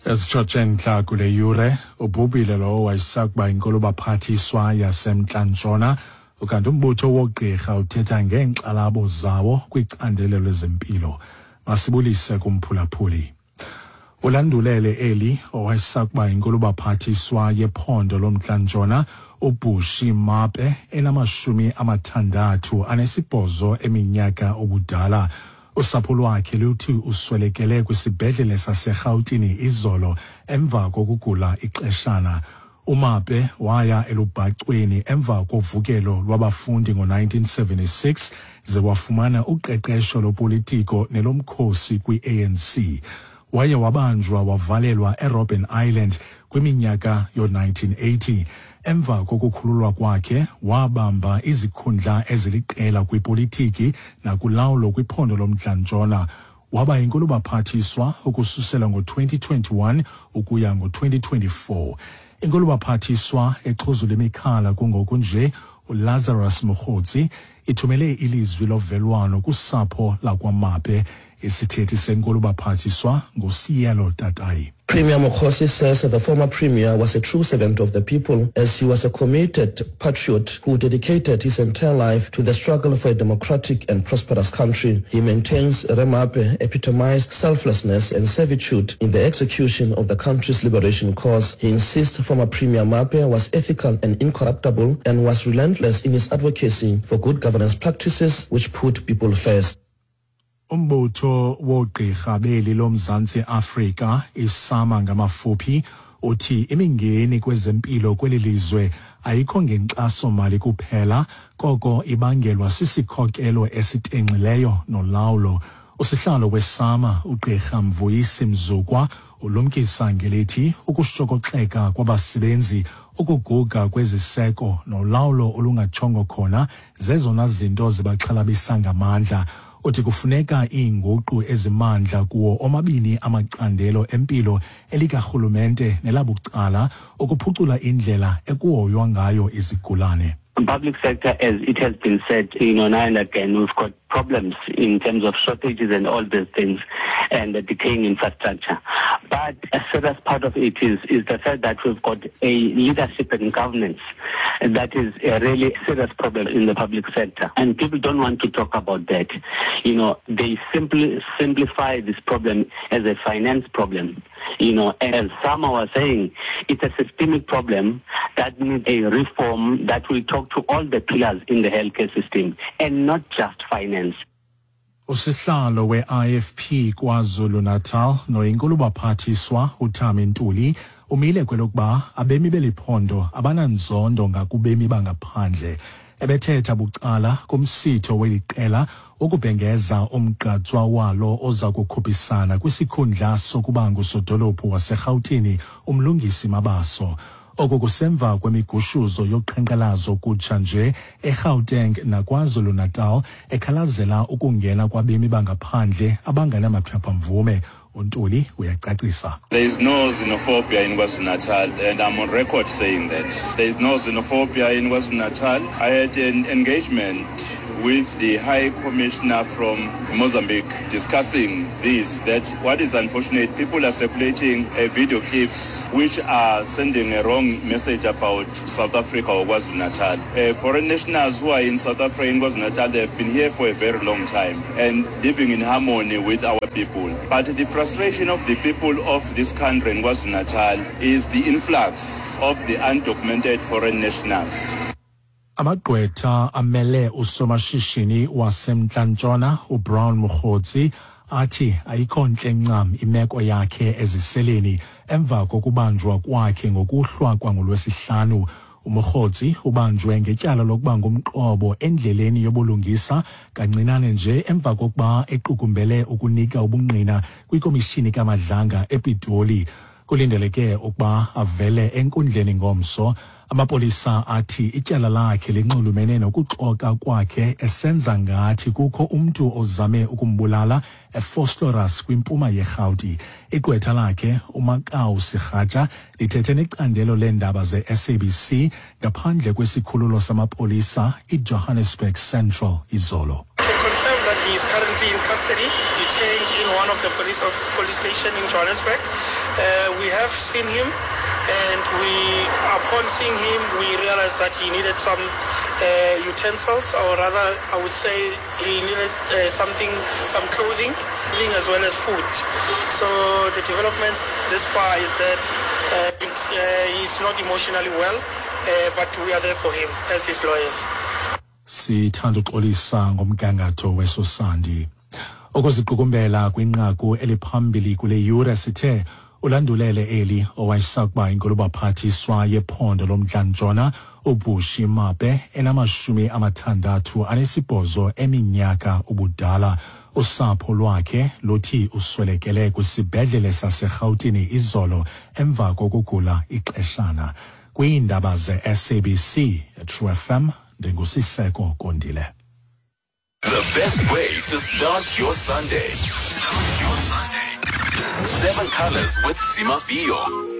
Ezitshotshe entla kule yure, ubhubhile lowo wayesakuba yinkulubaphathiswa yaseMntla-Ntshona, ukanti umbutho woogqirha uthetha ngeenkxalabo zawo kwicandelo lezempilo. Masibulise kumphulaphuli. Ulandulele eli owayesakuba yinkulubaphathiswa yephondo loMntla-Ntshona uBushy Mape enama-68 eminyaka ubudala. Usapho lwakhe luthi uswelekele kwisibhedlele saseRhawutini izolo emva kokugula ixeshana. UMape waya elubhacweni emva kovukelo lwabafundi ngo-1976 ze wafumana uqeqesho lopolitiko nelomkhosi kwi-ANC. Waye wabanjwa wavalelwa eRobben Island kwiminyaka yo-1980. Emva kokukhululwa kwakhe wabamba izikhundla eziliqela kwipolitiki nakulawulo kwiphondo loMntla-Ntshona. Waba yinkulubaphathiswa ukususela ngo-2021 ukuya ngo-2024. Inkulubaphathiswa exhuzula imikhala kungoku nje uLazarus Mokgotsi ithumele ilizwi lovelwano kusapho lakwaMape. Isithethi senkulubaphathiswa nguSielo Tatai. Premier Mokgosi says the former premier was a true servant of the people, as he was a committed patriot who dedicated his entire life to the struggle for a democratic and prosperous country. He maintains Remape epitomized selflessness and servitude in the execution of the country's liberation cause. He insists former Premier Mape was ethical and incorruptible and was relentless in his advocacy for good governance practices which put people first. Umbutho woogqirha beli loMzantsi Afrika, iSAMA ngamafuphi, uthi imingeni kwezempilo kweli lizwe ayikho ngenkxaso-mali kuphela, koko ibangelwa sisikhokelo esitenxileyo nolawulo. Usihlalo weSAMA, uGqirha Mvuyisi Mzukwa, ulumkisa ngelithi ukushokoxeka kwabasebenzi, ukuguga kweziseko nolawulo olungatshongo khona zezona zinto zibaxhalabisa ngamandla. Uthi kufuneka iinguqu ezimandla kuwo omabini amacandelo empilo, elikarhulumente nelabucala, ukuphucula indlela ekuhoywa ngayo izigulane. Public sector, as it has been said, now and again, we've got problems in terms of shortages and all these things and the decaying infrastructure. But a serious part of it is the fact that we've got a leadership and governance that is a really serious problem in the public sector. And people don't want to talk about that. They simply simplify this problem as a finance problem. As some were saying, it's a systemic problem that needs a reform that will talk to all the pillars in the healthcare system and not just finance. Usihlalo we-IFP KwaZulu-Natal noyinkulubaphathiswa uThami Ntuli umile kwelokuba abemi beli phondo abananzondo ngakubemi bangaphandle. Ebethetha bucala kumsitho weli qela wokubhengeza umgqatswa walo oza kukhuphisana kwisikhundla sokuba ngusodolophu waseRhawutini uMlungisi Mabaso. Oku kusemva kwemigushuzo yoqhankqalazo kutsha nje eGauteng naKwaZulu-Natal ekhalazela ukungena kwabemi bangaphandle abangenamaphepha-mvume. UNtuli uyacacisa. There is no xenophobia in KwaZulu-Natal, and I'm on record saying that. There is no xenophobia in KwaZulu-Natal. I had an engagement with the High Commissioner from Mozambique discussing this, that what is unfortunate, people are circulating video clips which are sending a wrong message about South Africa or KwaZulu-Natal. Foreign nationals who are in South Africa, in KwaZulu-Natal, they have been here for a very long time and living in harmony with our people. But the frustration of the people of this country in KwaZulu-Natal is the influx of the undocumented foreign nationals. Amagqwetha amele usomashishini waseMntla-Ntshona uBrown Mogotsi athi ayikho ntle ncam imeko yakhe eziseleni emva kokubanjwa kwakhe ngokuhlwa kwangolwesihlanu. UMogotsi ubanjwe ngetyala lokuba ngumqobo endleleni yobulungisa kancinane nje emva kokuba equkumbele ukunika ubungqina kwikomishini kaMadlanga ePitoli. Kulindeleke ukuba avele enkundleni ngomso. Amapolisa athi ityala lakhe linxulumene nokuxoka kwakhe esenza ngathi kukho umntu ozame ukumbulala eVosloorus kwimpuma yeRhawuti. Igqwetha lakhe uMakau Segatja lithethe necandelo leendaba ze-SABC ngaphandle kwesikhululo samapolisa iJohannesburg Central izolo. Can confirm that he is currently in custody, detained in in one of the police of police station in Johannesburg. Uh, we have seen him and we upon seeing him we realized that he needed some uh, utensils or rather I would say he needed uh, something some clothing as well as food. So the developments this far is that uh, uh, he's not emotionally well uh, but we are there for him as his lawyers. Sithanda uxolisa ngomgangatho weso sandi. Ukuziqukumbela kwinqaku eliphambili kule yure sithe ulandulele eli owayesakuba inkulubaphathiswa yephondo lomntla-ntshona uBushy Mape enamashumi amathandathu anesibhozo eminyaka ubudala. Usapho lwakhe luthi uswelekele kwisibhedlele saseRhawutini izolo emva kokugula ixeshana. Kwiindaba ze-SABC True FM ndinguSiseko Kondile. The best way to start your Sunday. Start your Sunday. Seven Colors with Zimafio.